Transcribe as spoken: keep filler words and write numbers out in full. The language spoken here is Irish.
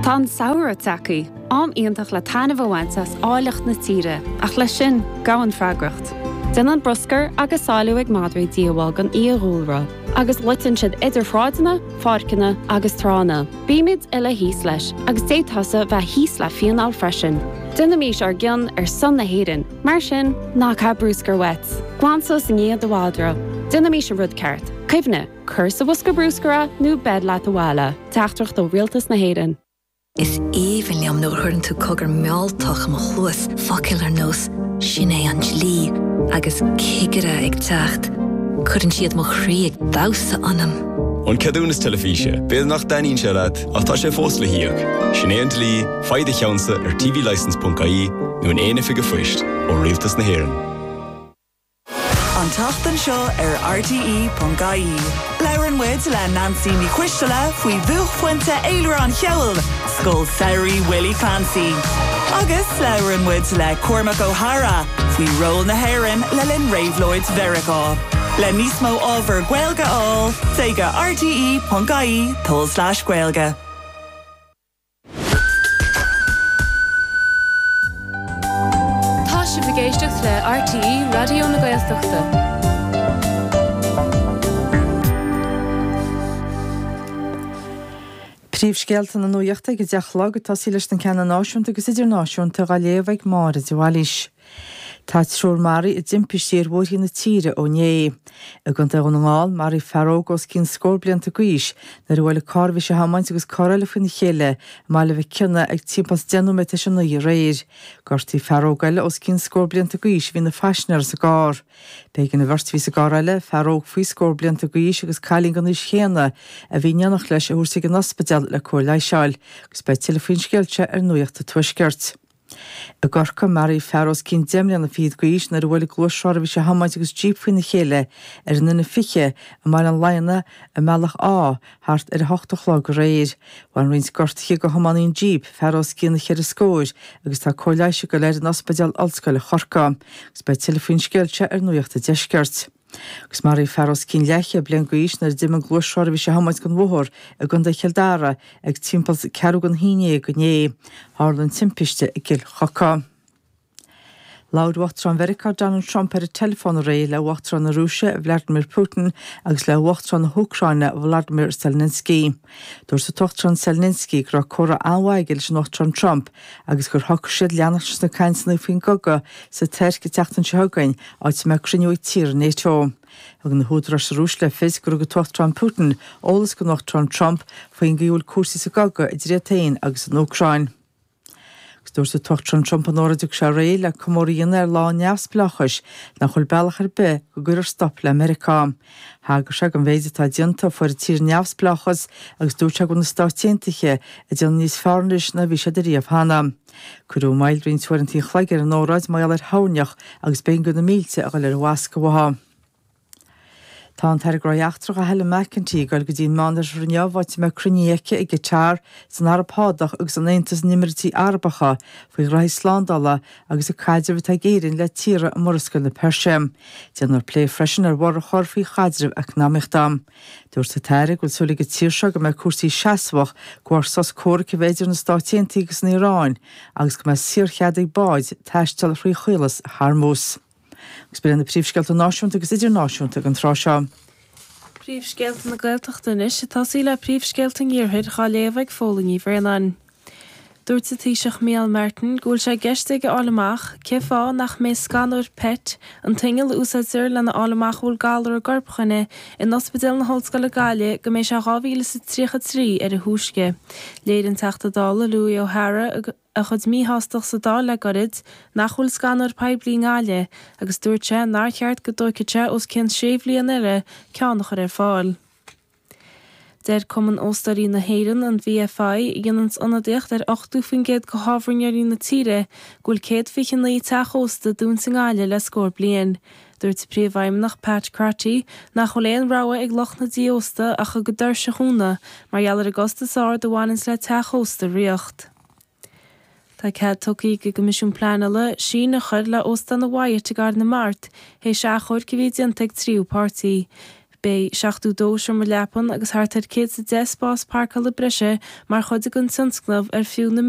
Tá an samhradh tagtha, am iontach le taitneamh a bhaint as áilleacht na tíre, ach leis sin gabhann freagracht. Déanann bruscar agus sailiú ag madraí díobháil don fhiadhúlra, agus loiteann siad idir shráideanna, pháirceanna agus tránna. Bímid uile thíos leis, agus d'fhéadfadh tusa bheith thíos le fíneáil freisin. Déanaimis ár gcion ar son na hÉireann, mar sin ná caith bruscar uait. Glan suas i ndiaidh do mhadra. Déanaimis an rud ceart. Cuimhnigh, cuir sa bhosca bruscair é nó beir leat abhaile. Teachtaireacht ó Rialtas na hÉireann. Is aoibhinn liom nuair a chuireann tú cogar mealltach i mo chluas focail ar nós sin é an dlí agus cigire ag teacht. Cuireann siad mo chroí ag damhsa ionam. An ceadúnas teilifíse, B'fhéidir nach dtaitníonn sé leat ach tá sé fós le híoc. Sin é an dlí, faigh do cheannsa ar tvlicence.ie nó in aon oifig an phoist ó Rialtas na hÉireann. An tseachtain seo ar RTE.ie. Labhrann muid le Nancy Ní Choisteala faoi bhuaicphointe fhéilire an cheoil, Scoil Samhraidh Willie Clancy. Agus labhrann muid le Cormac O'Hara faoi ról na hÉireann le linn réabhlóid Mheiriceá. Le níos mó ábhar Gaeilge a fháil, téigh go RTE.ie tulslais Gaeilge. Tá sibh ag éisteacht le RTE Raidió na Gaeltachta. Príomhscéalta na nuachta ag a deich a chlog ag tosaí leis na ceanna náisiúnta agus idirnáisiúnta á léamh ag Máire de Bhailís. Tá triúr maraithe i dtimpistí ar bhóithre na tíre ó inné. I gContae Dhún na nGall, maraíodh fear óg os cionn scór blianta d'aois nuair a bhuail carr a bhí sé a thiomáint agus carr eile faoina chéile i mBaile Mhic Cionnaith ag timpeall deich nóiméad tar éis a naoi aréir. Gortaíodh fear óg eile os cionn scór blianta d'aois a bhí ina phaisinéir sa gcarr. B'éigean an bheirt a bhí sa gcarr eile, fear óg faoi scór blianta d'aois agus cailín den aois chéanna a bhí in éineacht leis a thabhairt ag an ospidéal le cóir leighis a fháil, agus beidh tuilleadh faoin scéal seo ar Nuacht an Tuaiscirt. I gCorcaigh, maraíodh fear os cionn deich mbliana fichead d'aois nuair a bhuail gluaisrothar a bhí sé a thiomáint agus jíp faoina chéile ar an N fiche i mBaile an Laighneach i mBealach Átha thart ar a hocht a chlog aréir. Bhain roinnt gortuithe do thiománaí an jíp, fear os cionn cheithre scóir, agus tá cóir leighis ag dul air in Ospidéal Ollscoile Chorcaí. Agus beidh tuilleadh faoin scéal seo ar Nuacht an Deiscirt. Agus maraíodh fear os cionn leathchéad bliain d'aois nuair a d'imigh an gluaisrothar a bhí sé a thiomáint den bhóthar i gContae Chill Dara ag timpeall ceathrú don haon déag inné. Tharla an timpiste i gCill Choca. Labhair Uachtarán Mheiriceá Donald Trump ar an teileafón aréir le Uachtarán na Rúise Vladimir Putin agus le Uachtarán na hÚcráine Volodymyr Zelensky. Dúirt an tUachtarán Zelensky go raibh comhrá an-mhaith aige leis an Uachtarán Trump agus gur shocraigh siad leanacht leis na cainteanna faoin gcogadh sa Tuirc an tseachtain seo chugainn, áit a mbeidh cruinniú ag tíortha NATO. Thug na húdaráis sa Rúis le fios gur thug an tUachtarán Putin eolas don Uachtarán Trump faoin gcaoi a bhfuil cúrsaí sa gcogadh idir iad féin agus an Úcráin. Agus dúirt an tUachtarán Trump in óráid a thug sé aréir le comóradh a dhéanamh ar Lá an Neamhspleáchais nach bhfuil bealach ar bith go gcuirfear stop le Meiriceá. Thagair sé don mhéid atá déanta ó fuair an tír a neamhspleáchas agus dúirt sé go bhfuil na Stáit Aontaithe ag déanamh níos fearr anois ná a bhí siad ariamh cheana. Cuireadh moill roinnt uaireanta an chloig ar an óráid mar gheall ar thoirneach agus b'éigean do na mílte a dhul ar an bhfoscadh uathu. Tá an tAire Gnóthaí Eachtracha Helen McEntee ag dul go dtí an Meánoirthear inniu áit a mbeidh cruinnithe aici i gCatar, san Araib Shádach agus in Aontas na nÉimíríochtaí Arabacha faoi ghraithí slándála agus an caidreamh atá ag Éirinn le tíortha i Murascaill na Peirse. Déanfar plé freisin ar bhorradh a chur faoi chaidreamh eacnamaíochta. Dúirt an tAire go bhfuil súil ag an tír seo go mbeidh cúrsaí seasmhach de bharr sos comhraic a bheith idir na Stáit Aontaithe agus an Iaráin agus go mbeidh saorchead ag báid taisteal thrí Chaolas Hormuz. Agus b'in iad na príomhscéalta náisiúnta agus idirnáisiúnta ag an tráth seo. Príomhscéalta na Gaeltachta anois, ag tosaí le príomhscéalta an Iarthair dhá léamh ag Fódhla Ní Bhraonáin. Dúirt an Taoiseach Micheál Martin go bhfuil sé i gceist aige a fháil amach cé fáth nach mbeidh scanóir PET, an t-inneall a úsáidtear lena fháil amach an bhfuil galar i gcorp dhuine, in Ospidéal na hOllscoile Gaillimh go mbeidh sé dhá mhíle is a tríocha trí ar a thúisce. Léirigh an Teachta Dála Louis O'Hara a chuid míshástacht sa Dáil le gairid nach bhfuil scanóir poiblí i nGaillimh agus dúirt sé nár cheart go dtóigfeadh sé os cionn sé bhliain eile ceann a chur ar fáil. Deir Cumann Óstóirí na hÉireann, an VFI, a dhéananns ionadaíocht ar ochtó faoin gcéad de thábhairneoirí na tíre, go bhfuil céad fiche naoi teach ósta dúnta i nGaillimh le scór bliain. Dúirt a Príomhfheidhmeannach Pat Crotty nach bhfuil aon rogha ag lucht na dtí ósta ach a gcuid doirse a dhúnadh mar gheall ar an gcostas ard a bhaineanns le teach ósta a ríocht. Tá cead tugtha ag an gCoimisiún Pleanála síneadh a chur le Óstán an Wyatt i gCarn na Mart théis achomhairc a bhí déanta ag tríú páirtí. Beidh seachtó dó seomra leapan agus thart ar céad is a deich spás páirceála breise mar chuid den tionscnamh ar fiú na